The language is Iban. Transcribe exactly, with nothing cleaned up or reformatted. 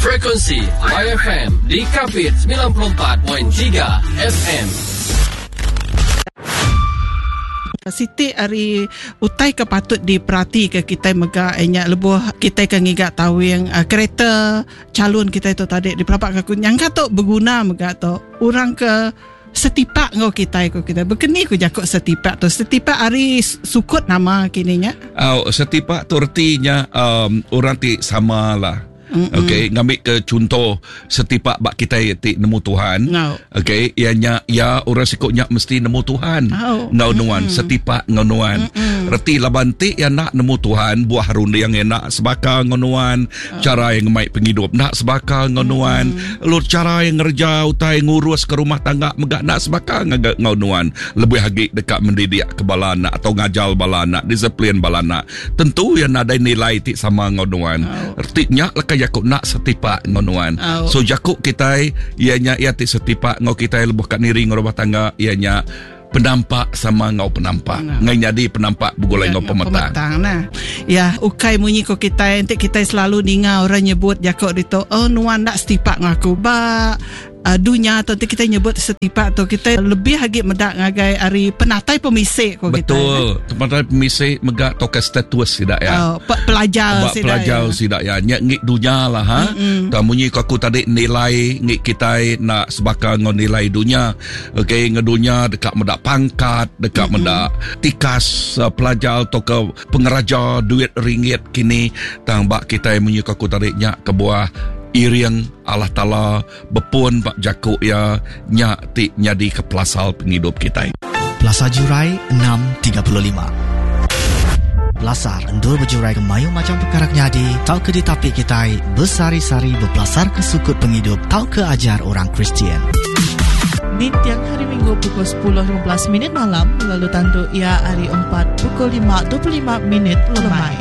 Frekuensi Y F M di Kapit semilan puluh empat perpuluhan tiga F M. Siti ari utai ke patut diperhati ke kita mega nya lebuh kita ke ngiga tawing uh, kereta calon kita itu tadi dipelabak aku nyangka tu berguna mega tu orang ke setipak ngau kita ko kita berkeni ko jakuk setipak tu, setipak ari sukut nama kini nya? Oh, setipak tu artinya um, orang ti sama lah. Okey, ngambil ke contoh setipak bak kita ti nemu Tuhan. No. Okey, ianya ya orang sikutnya mesti nemu Tuhan. Oh. Ngau nuan setipak ngau nuan. Reti laban ti ya nak nemu Tuhan, buah runding yang nak sebaka ngau nuan, cara yang ngemai penghidup nak sebaka ngau nuan, lalu cara yang ngerja utai ngurus ke rumah tangga megak nak sebaka ngau ngau nuan. Lebih lagi dekat mendidik ke bala anak atau ngajal bala anak, disiplin bala anak. Tentu yang ada nilai ti sama ngau nuan. Oh. Artinya lekai jakuk nak setipak ngau nuan. Oh. So jakuk kita ianya ia ti setipak ngau kita lebuh kat niri ngau rumah tangga ianya penampak sama ngau penampak. Nah. Ngai jadi penampak begulai ngau pemetang. Pemetang nah. Ya, ukai munyi ko kita nanti kita selalu ninga orang nyebut jakuk dito, oh, nuan nak setipak ngaku ba uh, dunia atau nanti kita nyebut setipak tu kita lebih lagi medak ngagai ari penatai pemisik ko kita. Betul. Penatai pemisik megak toke status tidak ya. Oh, pe- pelajar Bak pelajar ya. sidak ya. Nyak ngik dunia lah ha. Tak munyi ko aku tadi nilai ngik kita nak sebaka ngau nilai dunia. Okey, ngau dunia dekat medak pangkat, dekat medak tikas uh, pelajar atau ke pengeraja duit ringgit kini tang bak kita munyi ko aku tadi nyak ke buah iring Allah Ta'ala bepun bak jakuk ya nyak ti nyadi ke pelasal penghidup kita. Plaza Jurai enam tiga puluh lima. Pelasar endur berjurai ke mayu macam perkara nyadi tau ke ditapik kita bersari-sari berpelasar ke sukut penghidup tau ke ajar orang Kristian. Di tiang hari Minggu pukul sepuluh lima belas minit malam lalu tentu ia hari empat pukul lima dua puluh lima minit lemai.